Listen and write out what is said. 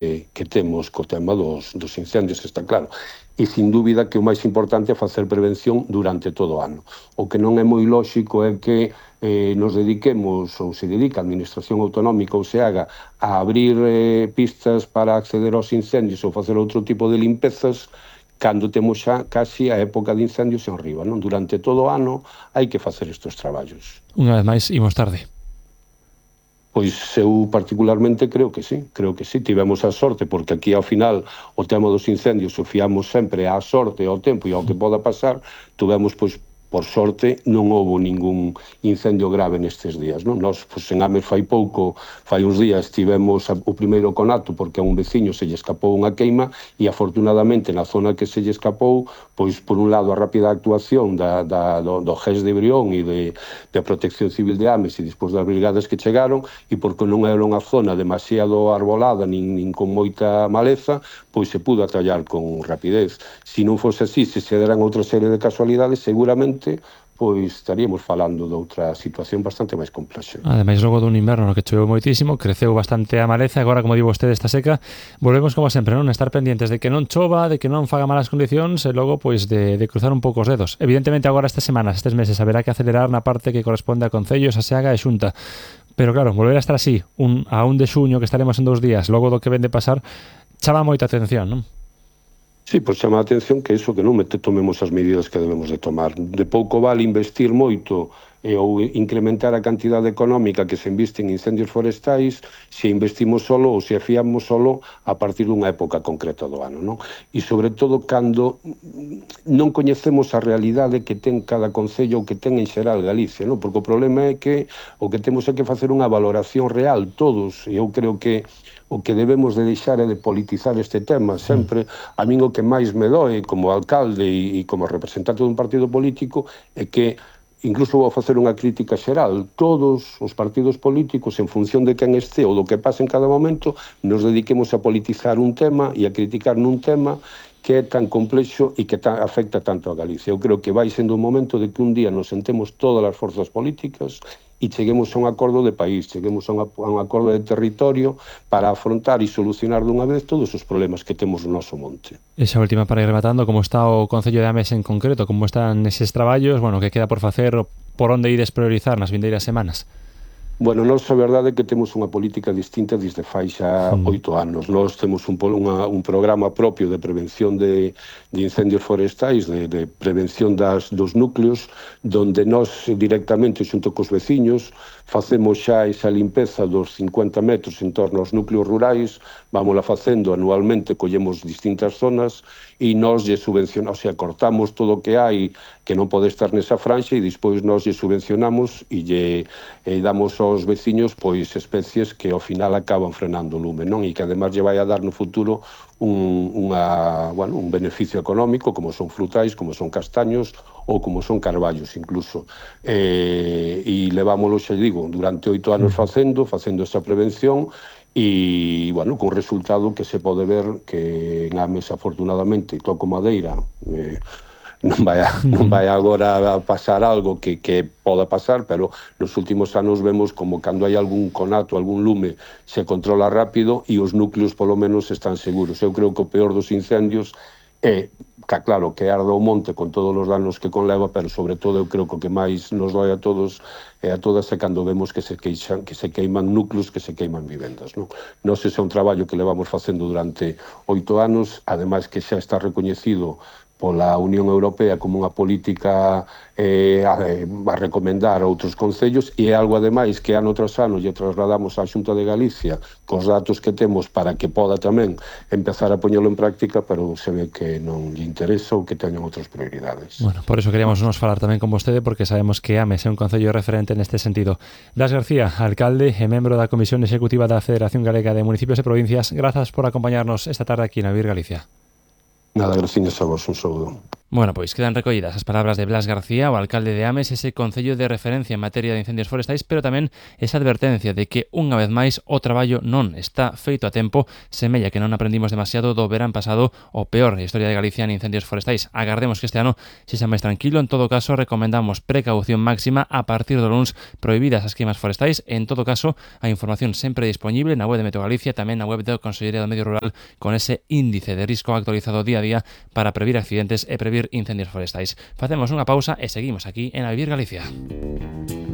que temos co tema dos incendios, está claro. E, sin dúbida, que o máis importante é facer prevención durante todo o ano. O que non é moi lóxico é que nos dediquemos, ou se dedica a Administración Autonómica ou se haga, a abrir pistas para acceder aos incendios ou facer outro tipo de limpezas cando temos xa casi a época de incendios en riba, non? Durante todo o ano hai que facer estes traballos. Unha vez máis, imos tarde. Pois eu particularmente creo que sí, tivemos a sorte, porque aquí ao final o tema dos incendios o fiamos sempre á sorte, ao tempo e ao que poda pasar, tuvemos, pois, por sorte, non houbo ningún incendio grave nestes días, non? Nós, pois, en Ames fai uns días, tivemos o primeiro conato porque a un veciño se lle escapou unha queima e, afortunadamente, na zona que se lle escapou, pois, por un lado, a rápida actuación do GES de Brión e de Protección Civil de Ames e despois das brigadas que chegaron, e porque non era unha zona demasiado arbolada nin con moita maleza, pois se pudo atallar con rapidez. Se non fose así, se deran outra serie de casualidades, seguramente pois estaríamos falando de outra situación bastante máis complexa. Ademais, logo dun inverno no que choveu moitísimo, creceu bastante a maleza, agora, como di vostede, está seca, volvemos como sempre, non? Estar pendientes de que non chova, de que non faga malas condicións e logo, pois, de cruzar un pouco os dedos. Evidentemente, agora estas semanas, estes meses, haberá que acelerar na parte que corresponde a concellos, a Seaga e Xunta. Pero claro, volver a estar así, a 1 de xuño, que estaremos en 2 días, logo do que ven de pasar, chama moita atención, non? Sí, pois chama a atención que iso, que non tomemos as medidas que debemos de tomar. De pouco vale investir moito ou incrementar a cantidade económica que se inviste en incendios forestais se investimos solo ou se fiamos solo a partir dunha época concreta do ano, non? E, sobre todo, cando non coñecemos a realidade que ten cada concello ou que ten en xeral Galicia, non? Porque o problema é que o que temos é que facer unha valoración real todos, e eu creo que o que debemos de deixar é de politizar este tema sempre. A min o que máis me doe como alcalde e como representante dun partido político é que, incluso vou facer unha crítica xeral, todos os partidos políticos, en función de quen este ou do que pase en cada momento, nos dediquemos a politizar un tema e a criticar nun tema que é tan complexo e que afecta tanto a Galicia. Eu creo que vai sendo un momento de que un día nos sentemos todas as forzas políticas e cheguemos a un acordo de país, cheguemos a un acordo de territorio para afrontar e solucionar dunha vez todos os problemas que temos no noso monte. Esa última, para ir rematando, como está o Concello de Ames en concreto, como están eses traballos, bueno, que queda por facer, por onde ides priorizar nas vindeiras semanas? Bueno, nós a verdade é que temos unha política distinta desde fai xa 8 anos. Nós temos un programa propio de prevención de incendios forestais, de prevención dos núcleos, donde nós directamente, xunto cos veciños, facemos xa esa limpeza dos 50 metros en torno aos núcleos rurais, vámola facendo anualmente, collemos distintas zonas e nós lle subvencionamos, o sea, cortamos todo o que hai que non pode estar nesa franxa e despois nós lle subvencionamos e lle damos aos veciños pois especies que ao final acaban frenando o lume, non? E que además lle vai a dar no futuro un beneficio económico, como son frutais, como son castaños ou como son carballos incluso. E levámoslo, xa digo, durante 8 anos facendo esa prevención e, bueno, con resultado que se pode ver que en Ames, afortunadamente, toco madeira, non vai agora a pasar algo que poda pasar, pero nos últimos anos vemos como cando hai algún conato, algún lume, se controla rápido e os núcleos polo menos están seguros. Eu creo que o peor dos incendios é, claro, que arda o monte con todos os danos que conleva, pero sobre todo eu creo que o que máis nos dói a todos e a todas é cando vemos que se queiman núcleos, que se queiman vivendas, non? Nós ese é un traballo que levamos facendo durante 8 anos, ademais que xa está recoñecido pola Unión Europea como unha política a recomendar a outros concellos e é algo, ademais, que ano tras ano lle trasladamos á Xunta de Galicia cos datos que temos para que poda tamén empezar a poñelo en práctica, pero se ve que non lle interesa ou que teñan outras prioridades. Bueno, por eso queríamos nos falar tamén con vostede, porque sabemos que Ames é un concello referente neste sentido. Blas García, alcalde e membro da Comisión Executiva da Federación Galega de Municipios e Provincias, grazas por acompañarnos esta tarde aquí na Vir Galicia. Nada, gracias a vos, un saúdo. Bueno, pois quedan recollidas as palabras de Blas García, o alcalde de Ames, ese concello de referencia en materia de incendios forestais, pero tamén esa advertencia de que, unha vez máis, o traballo non está feito a tempo. Semella que non aprendimos demasiado do verán pasado, o peor da historia de Galicia en incendios forestais. Agardemos que este ano sexa máis tranquilo. En todo caso, recomendamos precaución máxima a partir do luns, prohibidas as queimas forestais. En todo caso, a información sempre disponible na web de Meteo Galicia, tamén na web da Consellería do Medio Rural, con ese índice de risco actualizado día a día para previr accidentes e previr incendios forestais. Facemos unha pausa e seguimos aquí en A Vivir Galicia.